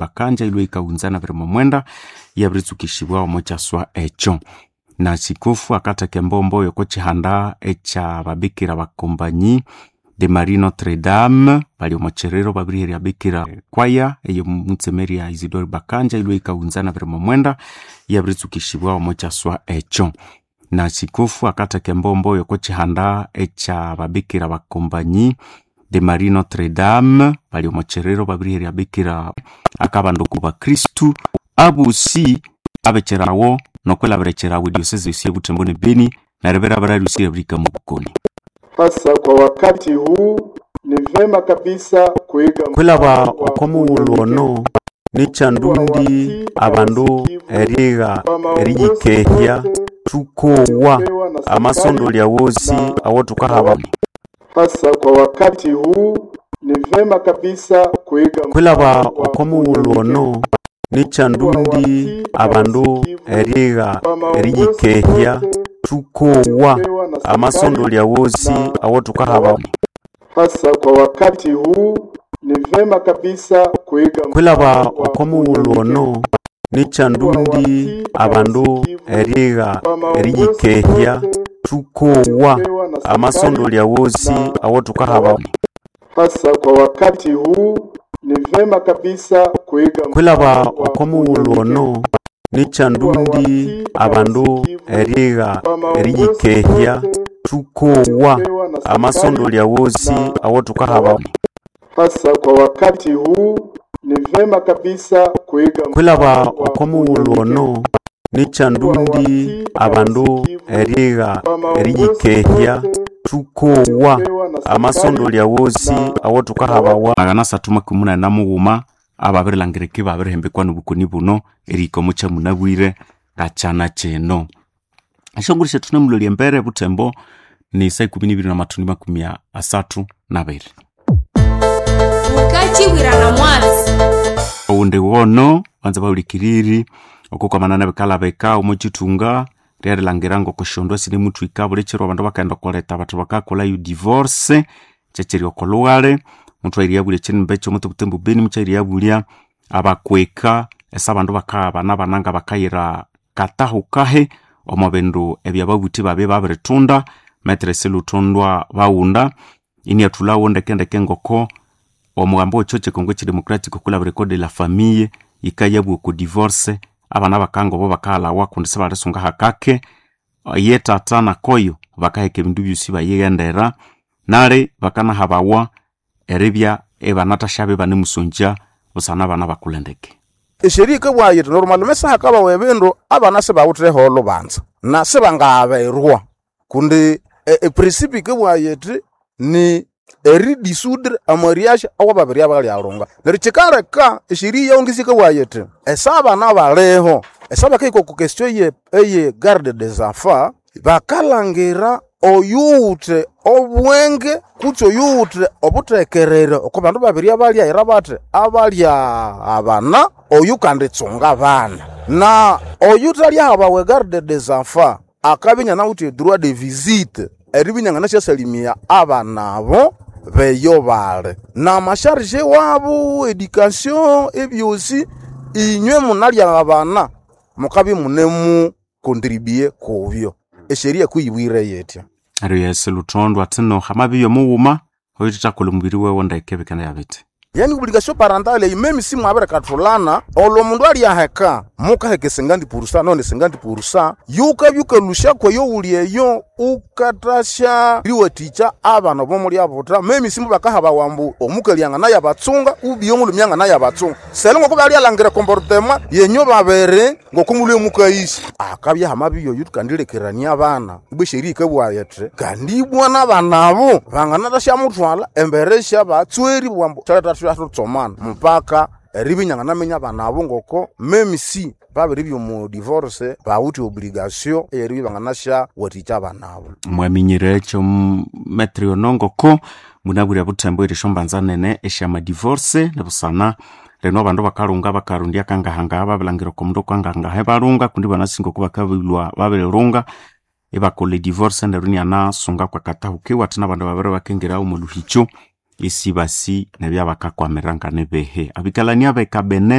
Bakanja ilwe ikahunza na 29 yabiritsukishibwa omo kyaswa ekyo. Na sikofu akatheka embombo yoko kihanda ekya babikira bakombanyi de Marie Notre Dame bali omo kyiriro babiriherya bikira kwaya eyo mutsemeria Isidore Bakanja ilwe ikahunza na 29 yabiritsukishibwa omo kyaswa ekyo. Na sikofu akatheka embombo yoko kihanda ekya babikira bakombanyi de Marie Notre Dame bali omo kyiriro babiriherya bikira akabandu ku bakristu abosi abekyerawo nokwilabira ediosese yosi ebutembo ne Beni neribera baralhusia abirika mubukoni. Hasa kwa wakati huu ni vema kabisa kuiga Kwilaba okomughulhu ono nikyandundi abandu erigha eriyikehya thukowa amasondolya wosi awathukahabana. Hasa kwa wakati huu ni vema kabisa kuiga Kwilaba okomughulhu ono nikyandundi abandu erigha eriyikehya thukowa amasondolya wosi awathukahabana. Hasa kwa wakati huu ni vema kabisa kuiga Kwilaba okomughulhu ono nikyandundi abandu erigha eriyikehya thukowa amasondolya wosi awathukahabana. Hasa kwa wakati huu ni vema kabisa kuiga Kwilaba okomughulhu ono nikyandundi abandu erigha eriyikehya thukowa amasondolya wosi awathukahabana. Hasa kwa wakati huu ni vema kabisa kuiga Kwilaba okomughulhu ono nikyandundi abandu erigha eriyikehya thukowa amasondolya wosi awathukahabawa. 383 ababirilangirika ibabirihembekwa nobukoni buno erihika omo kyamunabwire ngakyana kino. Esyonguru syethu namulolya embere ebutembo ni saa 12:32. Mukachibwirana mwatsi. Owundi wono banza bahulikiriri okwakwamana nebikalabika omo kithunga ryerilangira ngokusyondu sinemuthwika buli kiro abandu bakaghenda okoleta bathi bakakolhayo divorce kyekyiri oko lughale muthwayiryabulya ekyinimba ekyomuthi butembo Beni mukyayiryabulya abakweka esa abandu bakaghabana abana ngabakayira katahukahi omo bindu ebyababuthi babye babirithunda metresi luthundwa baghunda iniathulhawo ndekendeke ngoko omugambo wekyo Congo ekyidemocratic okwilhabira ecode de la famille yikayabugha oko divorce abana bakanga obo bakaghalhawa kundi sibalisunga hakake ye tata nakoyo bakaheka ebindu byosi bayighendera nali bakanahabawa eribya ibanathasyabe ibanemusongya busana abana bakulha ndeke. Esheria yikabugha yithi normalement sihakabawa ebindu abana sibawithe olhubanza na sibangaghaberwa kundi eprincipe yikabugha yithi ni eridissoudre amariage awababiri abalyalhunga. Neryo kyikaleka esheria yawangisi yikabugha yithi esa abana baliho esa bakahika oko question eye garde des enfants bakalhangira oyuwithe obwenge kutse oyuwithe obuthekerere oko bandu babiri abalyaghira bathi abalyaghabana oyukanditsunga abana. Na oyuthalyahabawa egarde des enfants akabya inanawithe edroit de visite eribya inanganasyasalimia abana abo beyo bali. Namasharge wabo education ebyosi inywe munalyaghabana mukabya imunemucontribue kubyo. Esheria kuyibwire yithya. Neryo Yesu luthondwa athi no hamabya omughuma oyuthethakolha omubiri wewe ndeke bikendaya bithi. Yani obligation parentale eyi meme si mwabirikathulana olwo omundu alyaheka mukaheka 50% none 50% yukabya wukalhusya kweyo wuli eyo wukathasya riwathikya abana obo mulyabutha meme si mubakahabawa ambu omukali anganayabatsunga ubiye omulhume anganayabatsunga sele ngoko balyalangira comportement yenyu babiri ngoko mulhwe mukayisya akabya hamabya oyu thukandilekerania abana ibwa esheria yikabugha yithi kandi ibwa nabana abo banganathasymuthwalha embere syabatsweri bwambu thuthathusomana mupaka eribya inyanganaminya abana abo ngoko meme si babiribya omu divorce bawithe obligation eyeribya ibanganasyawathikya abana abo. Mwaminyire ekyo metri ono ngoko munabwire buthembo eri esyombanza nene esyamadivorce nibusana lino abandu bakalhunga bakarondya kangahangaha babilangira oko mundu okangahangaha ibalhunga kundi ibanasinga oko bakabilhwa babirilhunga ibakolha edivorce neryo inianasunga kwakatahuka iwathi nabandu babiri bakingira omo luhikyo isibasi nebyabakakwamirira nganibihi abikalani abekabene.